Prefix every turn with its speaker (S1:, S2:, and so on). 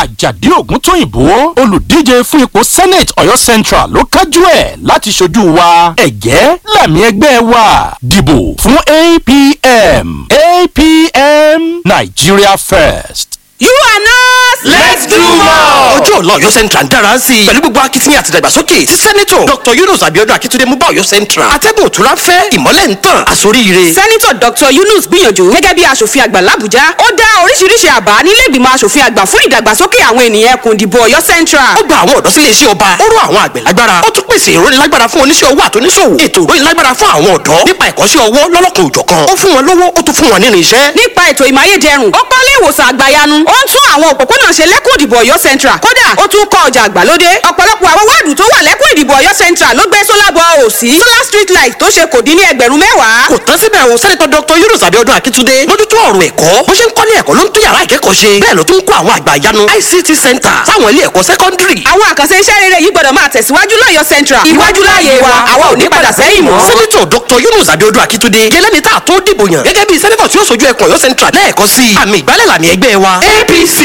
S1: Àjàdí Ògúntóyìnbó, olùdíje fún ipò Senate Ọ̀yọ́ Central, ló kájú ẹ̀ láti ṣojú wa. Ẹ̀gẹ́ làmì ẹgbẹ́ wa. Dìbò fún APM. APM, Nigeria First.
S2: You and us.
S3: Let's do more. Ọjọ́ ọ̀la Ọ̀yọ́ Central ń dára sí i pẹ̀lú gbogbo akitiyan àti ìdàgbàsókè tí Sẹ́nẹ́tọ̀ Dr. Yunus Abiodun Akitunde mú bá Ọ̀yọ́ Central. Atẹ́gùn òtúnra fẹ́, ìmọ́lẹ̀ ń tàn, àsoríire.
S2: Sẹ́nitọ̀ Dr. Yunus gbìyànjú gẹ́gẹ́ bí aṣòfin àgbà l'Àbújá. Ó dá oríṣiríṣi àbá nílé ìgbìmọ̀ aṣòfin àgbà fún ìdàgbàsókè àwọn ènìyàn ẹkùn ìdìbò Ọ̀yọ́ Central.
S3: Ó gba àwọn ọ̀dọ́ sílé iṣẹ́ ọba, ó rọ àwọn àgbẹ̀ lágbára, ó tún pèsè ìrónilágbára fún oníṣẹ́ owó àtoníṣòwò, ètò ìrónilágbára fún àwọn ọ̀dọ́ nípa ẹ̀kọ́ṣẹ́ ọwọ́ lọ́lọ́kan òjọ̀kan. Ó fún wọn lówó, ó tún fún wọn nínú iṣẹ́.
S2: Nípa ètò ìmáyédẹrùn, ó kọ́lé ìwòsàn àgbàyanu, ó ń tún àwọn òpópónà ṣe lẹ́kùn ìdìbò Ọ̀yọ́ Central. Kódà ó tún kọ́ ọjà àgbàlódé. Ọ̀pọ̀lọpọ̀ àwọn wáàdù tó wà lẹ́kùn ìdìbò Ọ̀yọ́ Central ló gbé solar ball òsì, solar street light tó ṣe kò dín ní 10,000.
S3: Kò tán síbẹ̀ o, Sẹ́nẹ́tọ̀ Dr. Yunus Abiodun Akitunde mójútó ọ̀rọ̀ ẹ̀kọ́. Bó ṣe ń kọ́lé ẹ̀kọ́ ló ń tún yàrá ìkẹ́kọ̀ọ́ ṣe, bẹ́ẹ̀ ló tún ń kọ́ àwọn àgbà ìyanu ICT center sáwọn ilé ẹ̀kọ́ sẹ́kọ́ndírì.
S2: Àwọn àkànṣe iṣẹ́ rere yìí gbọ́dọ̀ máa tẹ̀síwájú lọ́yọ̀ Central. Iwájú láàyè wa, àwa ò ní padà sẹ́yìn mọ́.
S3: Sẹ́nẹ́tọ̀ Dr. Yunus Abiodun Akitunde yẹlẹ́ni tá a tó dìbò yàn gẹ́gẹ́ bí sẹ́nẹ́tọ̀ tí ó sojú ẹkùn Ọ̀yọ́ Central lẹ́ẹ̀kan sí i. Àmì ìgbálẹ̀ làmì ẹgbẹ́ wa, APC.